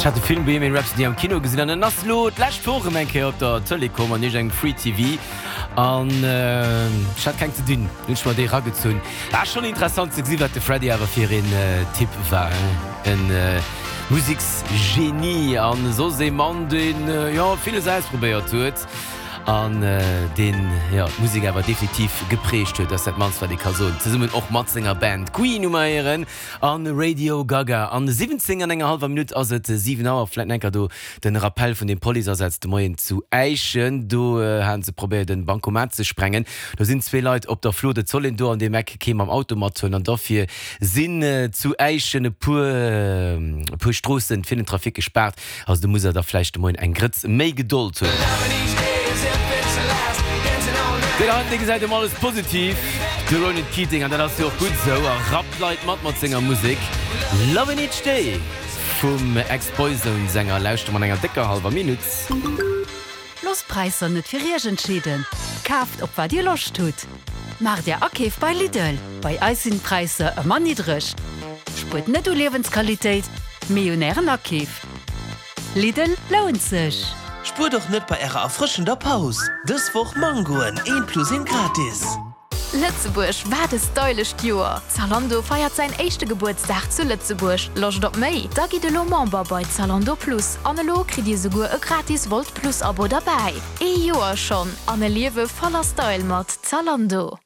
Ech hat de Film Bohemian Rhapsody am Kino gesinn an en ass lo d'lescht Woch erëm eng Kéier op der Tëlee komm an iergend engem Free TV an ech hat keng ze dinn, hunn ech mer dee ragezunn. War schonn interessant ze gesi wat de Freddie awer fir een Typ war, en Museksgenie an soss ee Mann deen jo villes ausprobéiert huet an deen jo d'Musek awer definitiv geprägt huet, ass dat mannst wat ee ka soen, zesummen och mat senger Band Queen hu mer héieren an Radio Gaga. An 17 an enger hallwer Minutt ass et 7 Auer. Vläit enker do den Rappell vun dem Policeasaz de Moien zu Äischen. Do haten se probéiert en Bancomat ze sprengen. Do sinn zwee Leit op der Flucht. Et soll een do an deem Eck kee mam Auto mathuelen an dofir sinn zu Äischen e puer e puer Stroossen fir den Trafic gespaart. Also do muss der da vläicht de Moien eng Grëtz méi Gedold hunn. Deen heiten dee gesäit ëm alles positiv, de Ronan Keating, an dat ass jo och gutt esou a rappt d'Leit mat mat senger Musek. Lovin' Each Day vum Ex-Boyzone-Sänger lauschtere mer an enger décker hallwer Minutt. Loosst d'Präisser net fir Iech entscheeden, kaaft op wat Dir Loscht hutt. Maacht Är Akeef bei Lidl, bei eis sinn d'Präisser ëmmer niddreg. Spuert net u Liewensqualitéit, mee un Ären Akeef. Lidl lount sech! Spuert och net bei ärer erfrëschender Paus! Dës Woch Mangoen, eent plus eent gratis! Lëtzebuerg, wat e stylescht Joer! Zalando feiert säin éischte Gebuertsdag zu Lëtzebuerg. Loscht op méi? Da gitt elo Member bei Zalando Plus an elo kritt dir souguer e gratis Wolt Plus Abo derbäi. Ee Joer schonn an e Liewe voller Style mat Zalando!